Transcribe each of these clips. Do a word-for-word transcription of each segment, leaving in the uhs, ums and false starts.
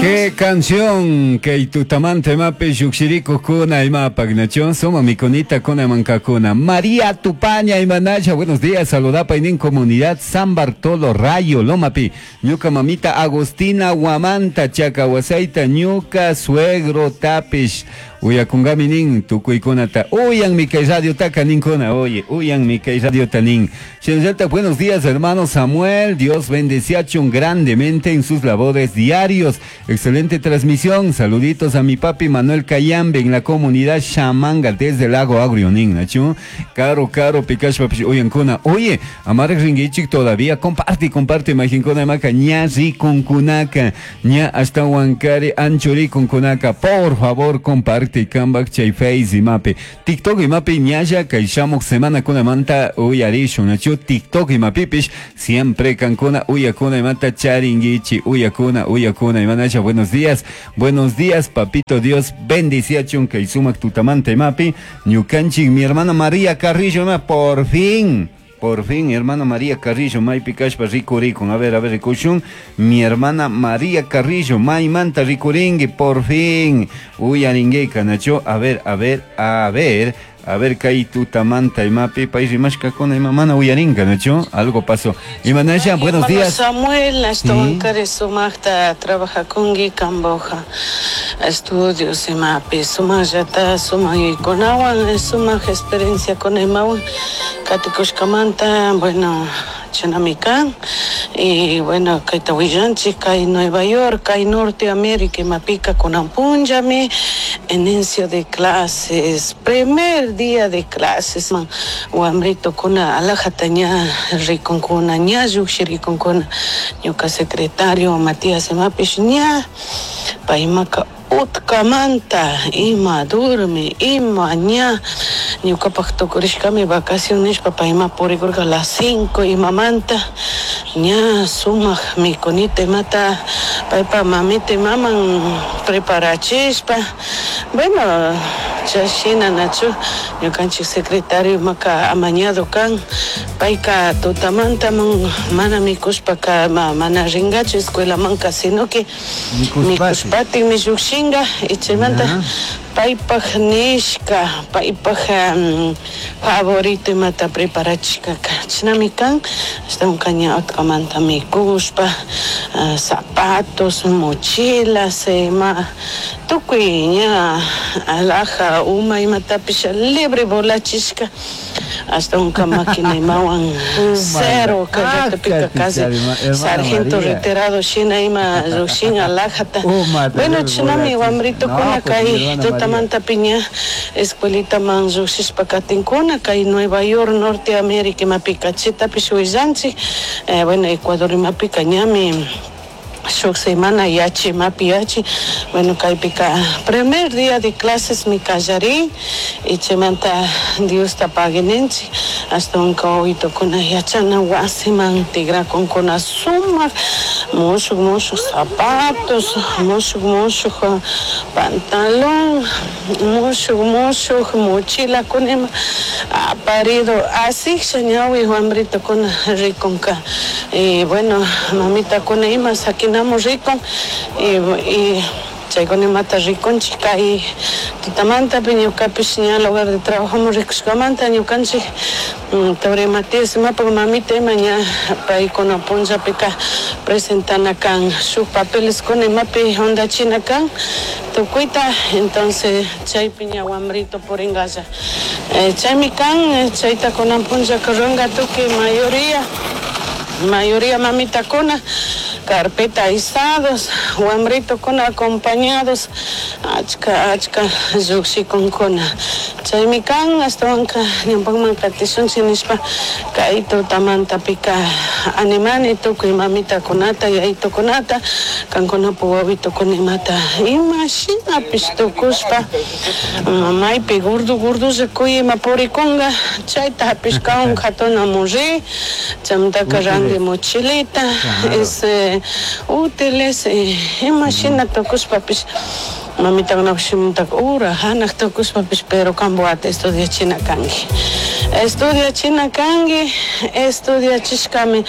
Qué canción kay tutamanta imapi lluqshirikuqkuna imapaq nachu suma mikunita kuna mankakuna María Tupaña imanasha buenos días saludapa inin comunidad San Bartolo Rayo Lomapi ñuka mamita Agustina Huamanta chakawasayta ñuka suegro tapish uyakungami nin tukuykunata uyanmi kay radiotaka ninkuna oye uyanmi kay radiota nin Shinallata buenos días hermano Samuel Dios bendeciachun grandemente en sus labores diarios excelente transmisión saluditos a mi papi Manuel Cayambe en la comunidad Chamanga desde Lago Agrio nin nachu caro caro pikashpa uyankuna oye amaraj ringuichik todavía comparte comparte imaginkuna imaka ña rikunkunaka ña ashtawankari anchurikunkunaka por favor comparte kambak chay Face imapi TikTok imapi ñalla kay shamuq semana kunamanta uyarishun nachu TikTok imapipish siempre kankuna uyakuna imata charinguichi uyakuna uyakuna imanasha buenos días buenos días papito Dios bendiciachun kay sumak tutamanta imapi ñukanchik mi hermana María Carrillo ima por fin Por fin, hermana María Carrillo, maypi kashpa rikurikun. A ver, a ver, rikushun. Mi hermana María Carrillo, maymanta rikuringi, por fin. Uyaringueka, nacho. A ver, a ver, a ver. A ver, kay tutamanta imapi, pay rimashkakuna ima mana uyarinka, nacho. Algo pasó. Imanasha, buenos días. Samuel, ashtawankari sumaqta trabajakunki Camboja estudios imapi sumaqllata sumaq yuyaykunawan sumaq experiencia kuna imawan katikushkamanta bueno chinami kan y bueno kayta willanchik kay Nueva York kay Norte América imapika kunan punllami inicio de clases primer día de clases man wamritukuna alajata ña rikunkuna ña llukshirikunkuna ñuka secretario Matías imapish ña paymaka utkamanta ima durmi ima ña ñukapaq tukurishkami vacación nishpa payma purikurka a las cinco imamanta ña sumaq mikunita imata paypa mamita imaman preparachishpa bueno chashina nachu ñukanchik secretario imaka amañado kan payka tutamanta mana mikushpaka mana ringachu escuelamanka sino que mikushpatikmi llukshinga y chaymanta paypaq nishka paypaq um, favorito imata preparachishkaka chinami kan ashtawanka ña utkamanta mikushpa uh, zapatos mochilas ima tukuy ña alhaja uma imatapish libre volachishka ashtawanka máquina imawan cero kay ratopika casi sargento retirado shina ima llukshin alhajata bueno chinami wamritukuna kay tutamanta piña escuelitaman llukshishpa katinkuna kay Nueva York Norte América imapika chitapish willanchik eh, bueno Ecuador imapika ñami shuk semana yachi imapi yachi bueno kaypika primer día de clases mi kallarin y chaymanta Diosta paguininchik ashtawanka wawitukuna yachana wasiman tigrakunkuna sumaq mushuk mushuk zapatos mushuk mushuk pantalón mushuk mushuk mochilakuna ima aparido asiksha ñawi wambritukuna rikunka y bueno mamitakuna ima sakinamos rikun y, y chaykuna imata rikunchik kay tutamantapi ñukapish ña lugar de trabajo rikushkamanta ñukanchik Tore Matías imapak mamita ima ña paykuna punllapika presentana kan shuk papeles kuna imapi jundachina kan tukuyta entonces chaypi ña wambrito puringalla eh, chaymi kan chayta kunan punllaka ruranka tukuy mayoría mayoría mamitakuna carpeta izados wambritukuna acompañados achka achka llukshikunkuna chaymi kan ashtawanka ñawpakman katishunchik nishpa kay tutamantapika animani tukuy mamitakunata yayitukunata kankunapak wawitukuna imata imashinapish tukushpa maypi gordo gordolla kuy ima purikunka chayta hapishkawan katunamun ri chaymantaka ranti mochilita ese útiles imashina tukushpapish mamitakunapish shimutaka ura hanaq tukushpapish pero kanpak wata estudiachina kanki estudiachina kanki estudiachishkami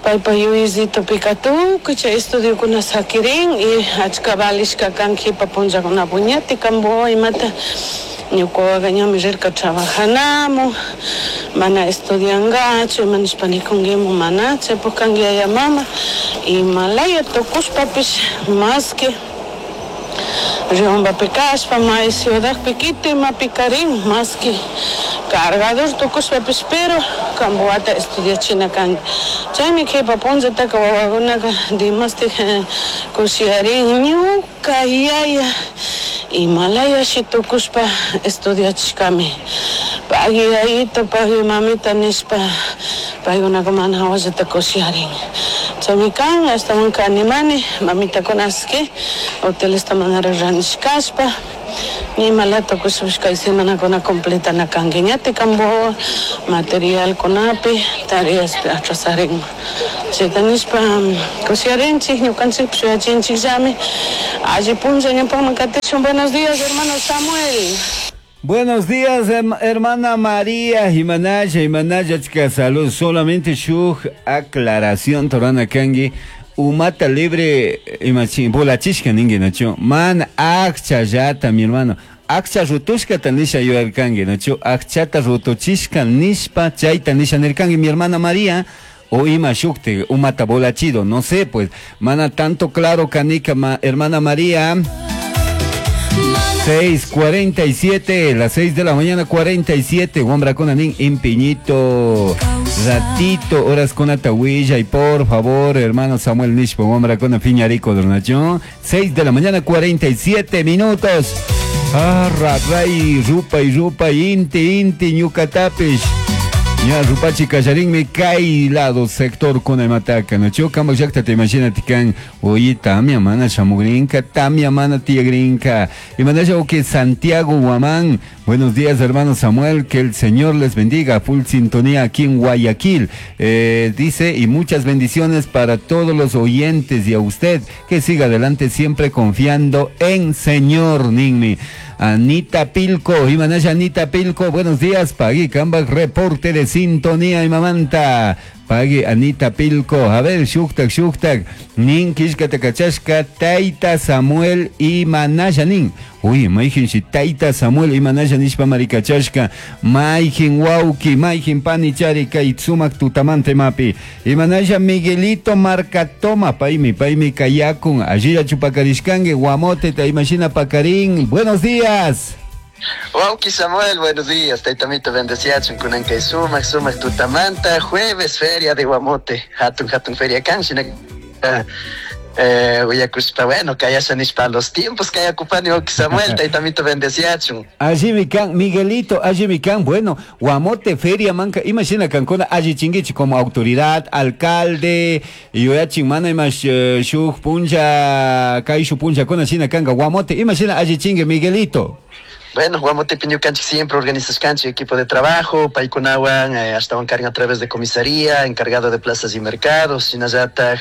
Paypa yuyayllitupika tukuy chay estudiokuna sakirin y achka valishka kan kipa punllakuna puñati kambo imata ñuka ñami rirka trabajanamu mana estudiangachu ima nishpa nikunkimu mana chaypuk kanki yaya mama imalaya tukushpapish más que Riobambapi kashpa may ciudadpi kiti imapi karin más que cargador tukushpapish pero kambo wata estudiachina kanki chaymi kipa punllataka wawakunaka dimastik kushiyarin ñuka yaya imalayashi tukushpa estudiachishkami pagui yayito pagui mamita nishpa paykunaka mana hawallata kushiyarin chaymi kan ashtawanka animani mamitakunaski hotelesta manara ranishkashpa imalata tukushpash kay semanakuna completana kanki ñatik kambo materialkunapi tareaspi atrasarinma chayta nishpa kushiyarinchik ñukanchikpish yuyachinchikllami alli punlla ñawpakman katishun. Buenos días, hermano Samuel. Buenos días, hermana María Imanaya, Imanaya, chica, salud. Solamente shuk aclaración, torana kangi. Umata libre, imachin, bolachishka ningi, nacho. Man, akcha yata, mi hermano. Akcha rutushka tanisha yuarkangi, nacho. Akchata rutuchishka nishpa, chayta nisha nirkangi, mi hermana María. O ima shukte, umata bolachido, no sé, pues. Mana tanto claro, canica, ma, hermana María. seis cuarenta y siete, las seis de la mañana cuarenta y siete, Wambra con Anín en Piñito, ratito, horas con Atahuilla y por favor, hermano Samuel Nishpo, Wambra con Fiñarico, Dornación, seis de la mañana cuarenta y siete minutos. Ah, ray, rupa y rupa, inti, inti, ñucatapish. Ya, rupachi kallarin me cae lado sector con el mataca, no cho kamba yakta te imagina tikan, oye, tamia mana chamugrinka, tamia mana tiagrinka. Y mandaya que Santiago Guamán, buenos días hermano Samuel, que el Señor les bendiga, full sintonía aquí en Guayaquil. Eh, dice, y muchas bendiciones para todos los oyentes y a usted, que siga adelante siempre confiando en Señor Ninmi. Anita Pilco, Imanaya Anita Pilco, buenos días, Pagui Kambak, reporte de sintonía y mamanta. Pagui Anita Pilco, a ver, shuktak, shuktak, nin kishka takachashka, Taita Samuel y Manaya nin. Uy, maijin si Taita Samuel y Manaya nishpa maricachashka, maijin wauki, maijin panichari, kaitsumak tutamante mapi. Y Manaya Miguelito Marcatoma, paimi, paimi kayakun, allí chupacarishkangue, guamote, ta imagina pacarín. Buenos días. Wauki Samuel, buenos días. Taitamito bendeciachun kunan kay sumak sumak tutamanta jueves feria de Guamote, hatun hatun feria kan shina eh uyakushpa bueno kayasha nishpa los tiempos kayakupani Wauki Samuel, taitamito bendeciachun. Allí mi kan Miguelito, allí mi kan, bueno, Guamote feria manca, imagina kankuna allí chinguichi como autoridad, alcalde, yuyachin mana imash shuk puncha, kaishu puncha kuna shina kanga Guamote, imagina allí chingue Miguelito. Bueno, Guamote Piñucanchi siempre organizas canchi, equipo de trabajo, Paykunawan, eh, hasta cargan a través de comisaría, encargado de plazas y mercados, Sinayataj,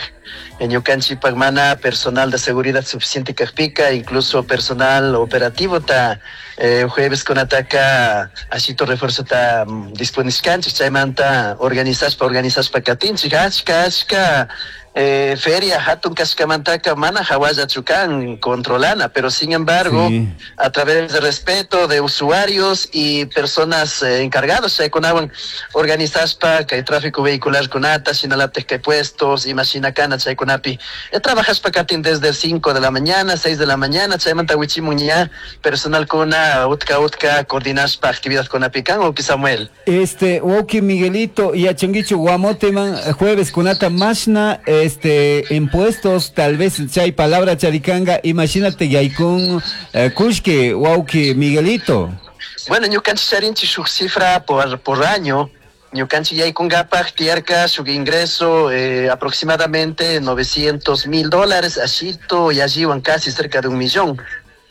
Ñucanchi Pagmana, personal de seguridad suficiente Cajpica, incluso personal operativo, ta eh, jueves con ataca, asito refuerzo ta disponis canchi, chaymanta organizas pa organizas pa katinchi, hachka, hachka, Eh, feria hatun kashkamantaka mana hawalla chukan controlana, pero sin embargo, sí, a través de respeto de usuarios y personas eh, encargadas, chaykunawan organizaspa kay tráfico vehicular kunata, shinalatek kay puestos, imashina kana chaykunapi. Eh, trabajaspa katin desde cinco de la mañana, seis de la mañana, chaymanta wichimuña, personal kuna, utka utka, coordinaspa actividad kunapikan, Oki Samuel. Este, Oki Miguelito, y achanguicho Guamote man, jueves kunata mashna, este, impuestos, tal vez chay palabra charicanga, imagínate yaikun eh, kushke, wauki Miguelito. Bueno, ñukanchik charinchik shuk cifra por, por año, ñukanchik yaikunkapaj tiyarka shuk ingreso eh, aproximadamente novecientos mil dólares, ashito y alliwan casi cerca de un millón.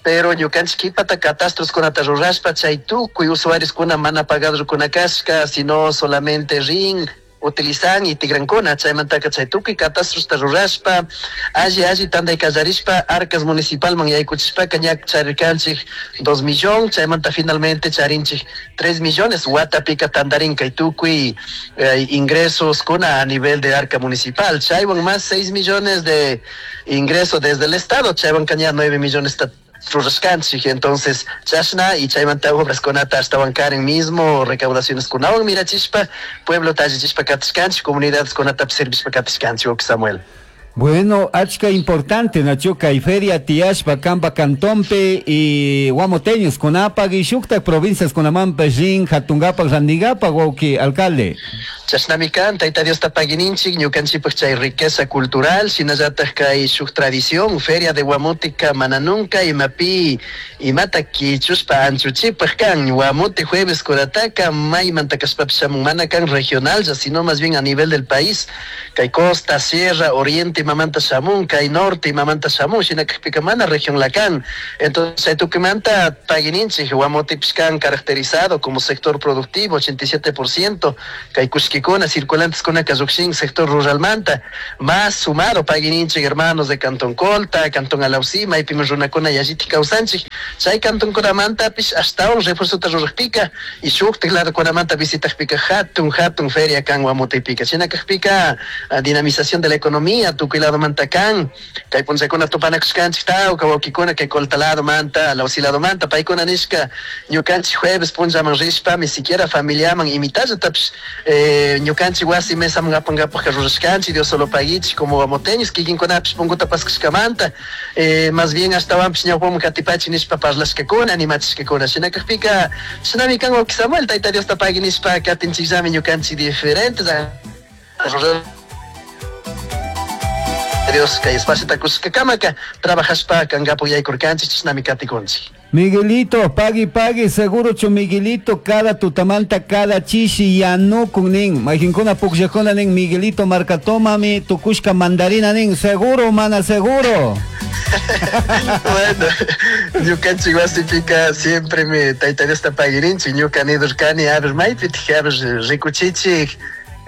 Pero ñukanchik kipata catastros kunata rurashpa chay tukuy usuarios kuna mana pagado kuna kashka, sino solamente rin Utilizan y tigrankuna. Chaymantaka chay tukuy catastrosta rurashpa, alli alli tantay kallarishpa, arcas municipalman yaykuchishpaka ña charirkanchik dos millón, chaymanta finalmente charinchik tres millones watapika tantarin kay tukuy eh, ingresos kuna a nivel de arca municipal. Chaywan más seis millones de ingresos desde el estado, chaywan ña nueve millones rurashkanchik. Entonces chashna y chaymanta obras kunata ashtawan karen mismo recaudaciones kunawan mirachishpa pueblo tallichishpa katishkanchik, comunidades kunata servishpa katishkanchik, Samuel. Bueno, achka importante, nachu, kay feria tiyashpa kamba cantonpi y guamoteños kunapaq y shuktak provincias kunamanpash rin hatungapak randigapak, wawki alcalde. Chashnami kan, Tayta Diosta paguininchik, ñukanchikpak chay riqueza cultural, shinallatak kay shuk tradición, feria de Guamoteca mana nunca imapi imata kichushpa anchuchipaj kan. Guamote jueves kurataka maymanta kashpapish shamun, mana kan regional ya, sino más bien a nivel del país, kay costa, sierra, oriente imamanta shamun, kay norte imamanta shamun, shinakajpika mana región la kan. Entonces chay tukimanta paguininchik, Guamotepish kan caracterizado como sector productivo, ochenta y siete por ciento, kay kushkikuna, circulantes kunaka llukshin sector ruralmanta, más sumado paguininchik hermanos de Cantón Colta, Cantón Alausí, maypimi runakuna yallitik kawsanchik, chay cantonkunamantapish ashtawan refuerzota rurajpika y shuktik ladokunamanta visitajpika hatun hatun feria kan Guamotepika. Shinakajpika dinamización de la economía tukuy ladomanta kan. Kay punllakuna tupanakushkanchik tawka wawkikuna kay Colta ladomanta, Alausí ladomanta, paykuna nishka ñukanchik jueves punllaman rishpami siquiera familiaman imitallatapish eh, ñukanchik wasi mesaman apankapaj rurashkanchik, Dios solo paguichik como guamoteños kikinkunapish punkuta paskashkamanta, eh, más bien ashtawanpish ñawpaman katipachi nishpa parlashkakuna, animachishkakuna. Shinakajpika shinami kan, wawki Samuel, Tayta Diosta pagui nishpa katinchikllami ñukanchik diferentes Dios kay espaciota kushkakamaka trabajashpa kankapak yaykurkanchik, chishnami katikunchik. Miguelito, pagui pagui, seguro chu Miguelito cada tutamanta cada chishi yanukun nin. Mayqinkuna pukllakuna nin Miguelito marcatomami tukushka mandarina nin, seguro mana seguro. Bueno, ñukanchik wasipika siempre mi Tayta Diosta paguirinchik, ñuka nidurkani, a ver maypitik, a ver rikuchichik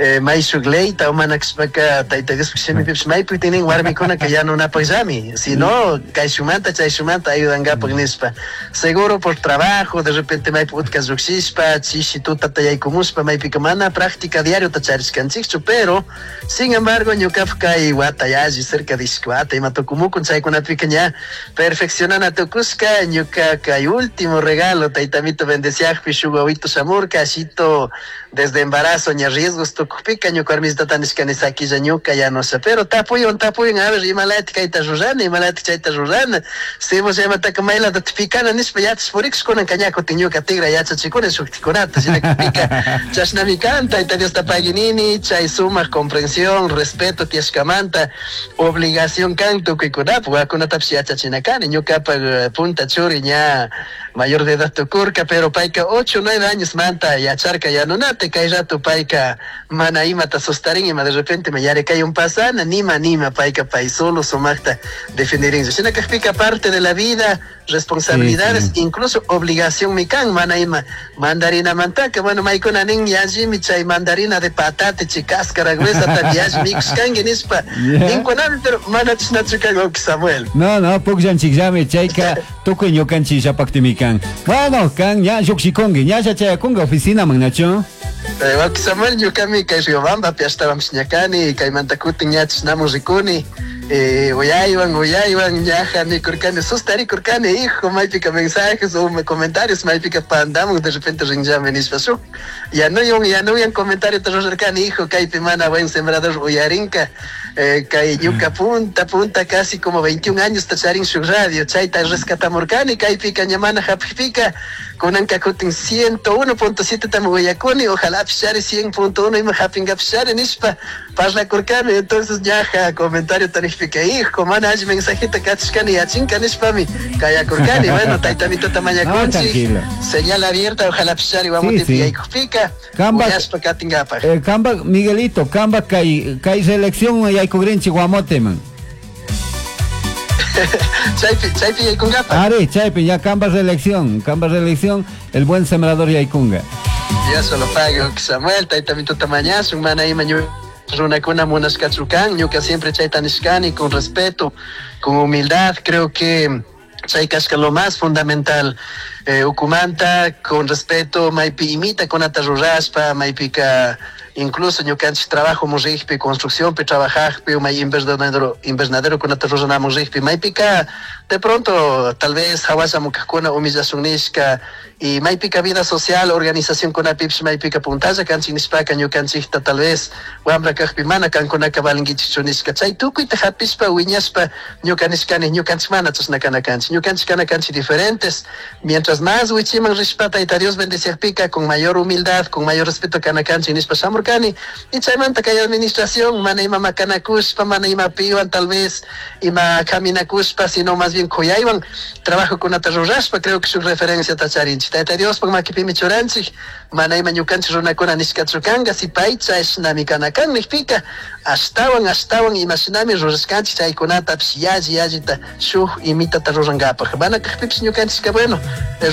eh, may shuk leyta o mana kashpaka Tayta Diospuk shimipipish maypi tinin warmikunaka yanunapakllami, si no kayshumanta chayshumanta ayudankapak nishpa. Seguro por trabajo de repente maypi utka llukshishpa chishi tutata yaykumushpa maypika mana práctica diariota charishkanchikchu, pero sin embargo ñukapak kay wata yalli cerca de ishki wata ima tukumukun chaykunapika ña perfeccionana tukushka. Ñuka kay último regalo taytamito bendeciakpi shuk wawito shamurka, ashito desde embarazo ña riesgos tukukpika ñuka warmisitata nishkani sakilla ñuka yanusha, pero tapuywan tapuywan, a ver imalatik kayta rurana, imalatik chayta rurana, cebolla imataka maylata picana nishpa yachash purikush, kunanka ña kutin ñuka tigra yachachikuni shuktikunata. Shinakpika chashnami kan, Tayta Diosta paguinini chay sumak comprensión, respeto tiyashkamanta. Obligación kan tukuykunapuk wawakunatapish yachachina kani. Ñukapak punta churi ña mayor de edad tukurka, pero payka ocho nueve años manta yacharka yanunata. Kay rato payka mana imata sustarin, ima de repente me yarekay un pasana nima nima, payka pay solo sumakta definirin. Shina kakpika parte de la vida, responsabilidades, sí, sí. Incluso obligación mi kan mana ima mandarina mantaka, bueno, maykuna nin yallimi chay mandarina de patate chay cáscara gruesa ta yalli mikushkanki nishpa ninkunami, pero mana chashnachu kan, Samuel. No, no, pukllanchikllami chayka tukuy ñukanchikllapakmi kan. Bueno, kan ña llukshikunki, ñalla chayakunka oficinaman, nachu. Wawki Samuel, ñukami kay Riobambapi ashtawanpish ñakani, kaymanta kutin ña chashnamun rikuni, eh, uyaywan uyaywan ñaja nikurkani, sustarikurkani, hijo, maypika mensajes o comentarios maypika pandamun de repente rinllami nishpa shuk yanuyan yanuyan comentario rurarkani, hijo, kaypi mana buen sembrador uyarinka, eh, kay ñuka punta punta casi como veintiún años charin shuk radio chayta rescatamurkani kaypika ña mana hapikpika, kunanka kutin ciento uno punto siete tami uyakuni, ojalá pishari cien punto uno ima hapinka pishari nishpa parlakurkani. Entonces ñaja comentario tarikpika, hijo, mana alli mensajita kachishkani yachinka nishpami kayakurkani. Bueno, taytamitota mañakunchik, señal abierta, ojalá pishari Guamotepi sí, sí. Yaykukpika uyashpa katinkapak. eh, kamba Miguelito, kamba kay kay selección yaykugrinchik Guamoteman. Chaypi chaypi yaykunkapa. Ari, chaypi ya kamba reelección, kamba reelección, el buen sembrador yaykunga. Dios solo pague, Samuel, tayta mituta mañasun, mana ima runakuna munashkachu kan, ñuka siempre chayta nishkani con respeto, con humildad, creo que chay kashka lo más fundamental, eh, ukumanta, con respeto, maypi imita kunata rurashpa, maypika incluso ñukanchik trabajo murrijpi, construcciónpi trabajajpi, may invernadero, invernadero kunata ruranamun rijpi, maypika de pronto tal vez hawasha mukajkuna humillasun nishka, y maypika vida social, organización kunapipish maypika puntalla kanchik nishpaka ñukanchikta tal vez wambra kajpi mana kankunaka valinkichikchu nishka, chay tukuyta hapishpa wiñashpa ñuka nishkani ñukanchik mana chashna kana kanchik, ñukanchik kana kanchik diferentes, mientras más wichiman rishpa Tayta Dios bendeciajpika con mayor humildad, con mayor respeto kana kanchik nishpa shamurkani, y chaymanta kay administración mana ima makanakushpa, mana ima piwan tal vez ima kaminakushpa, sino más bien kuyaywan trabajo kunata rurashpa, creo que su referencia tacharinchik. Tayta Diospaq makipimi churanchik, mana ima ñukanchik runakuna nishkachu kanka, si pay chashnami kana kan nijpika, ashtawan ashtawan imashinami rurashkanchik chaykunatapish yalli yallita shuk imitata rurankapaq. Mana kajpipish ñukanchikka bueno,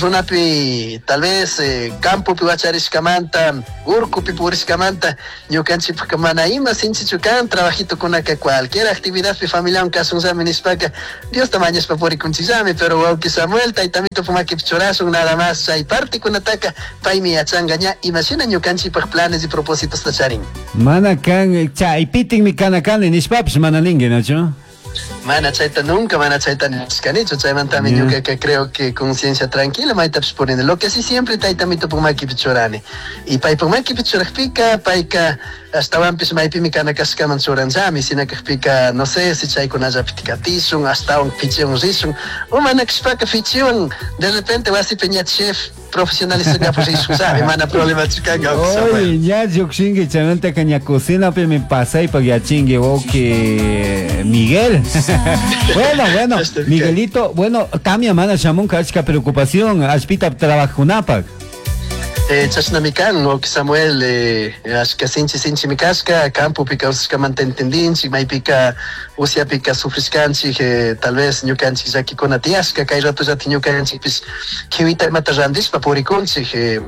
runapi tal vez eh, campopi wacharishkamanta, urkupi purishkamanta, ñukanchikpaq mana ima sinchichu kan, trabajitokunaka cualquier actividadpi familiawan kasunllami nishpaka, Diosta mañashpa purikunchikllami, pero wawki Samuel, tayta mitupa makipi churashun nada más chay partikunataka paymi yachanka ña imashina ñukanchikpaq planes y propósitos charin. Mana kan chaypitinmi kana kani nishpapish mana ninki, nachu? Mana chayta nunca, mana chayta nishkanichu, chaymantami Yeah. ñukaka creo que conciencia tranquila maytapish purini. Lo que sí siempre tayta mitupa makipi churani. Y paypak makipi churajpika, payka ashtawanpish maypimi kana kashkaman churanllami, sina kajpika, no sé si chaykunallapi katishun, ashtawan fichiwan rishun, o mana kashpaka fichiwan, de repente wasipi ña chef profesionalizankapak rishunllami, mana problemachu kanka, Oye, ña llukshinki, chaymantaka ña cocinapimi pasaypak yachinki, wawki Miguel. Bueno, bueno, Miguelito, bueno, tamia mana shamunka achka preocupación, ashpita trabajunapak. Eh, chashnami kan, wawki Samuel, eh, ashka sinchi sinchimi kashka, campopi kawsashkamanta entendinchik, maypika usyapika sufrishkanchik, eh, tal vez ñukanchik llakikuna tiyashka, kay ratollata ñukanchikpish kiwita imata randishpa purikunchik, eh,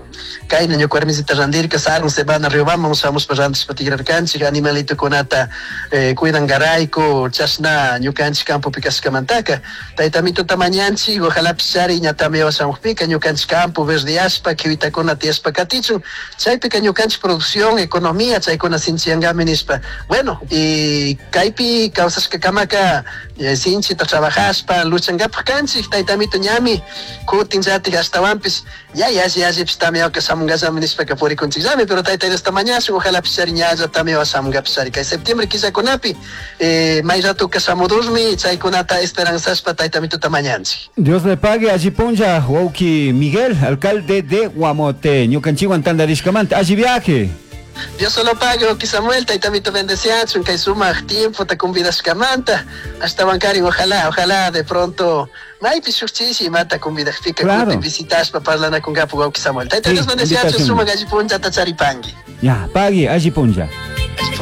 kayna ñuka warmisita randirka, sarun semana Riobambaman shamushpa randishpa tigrarkanchik, animalitokunata eh, cuidangarayku, chashna ñukanchik campopi kashkamantaka, tayta mituta mañanchik, ojalapish chari ña tamia shamukpika ñukanchik campo verdeashpa, kiwitakuna tiyashpa katichun, chaypika ñukanchik producción, economía, chaykuna sinchiyankami nishpa. Bueno, y kaypi kawsashkakamaka eh, sinchita trabajashpa, luchankapak kanchik, tayta mito ñami, kutin llatik ashtawanpish, ya yalli yallipish tamiawka shamunkallami nishpaka purikunchikllami, pero tayta Diosta mañashun, ojalapish chari ñalla tamiawa shamunkapish chari. Kay septiembre killakunapi, eh, may ratuka shamudurmi, chaykunata esperanzashpa tayta mituta mañanchik. Dios le pague, allí punlla, wawki Miguel, alcalde de Guamote, ñukanchikwan tantarishkamanta, allí viaje. Dios solo pague, wawki Samuel, tayta mito bendeciachun, kay sumaq tiempo ta convidashkamanta, ashtawankarin, ojalá, ojalá de pronto maypi shuk chishi imata convidajpika, Claro. kutin visitashpa parlanakunkapak wawki Samuel. Tayta Sí, Dios bendeciachun, invitación. sumaq alli punllata charipanki. Ya, pague, allí punlla.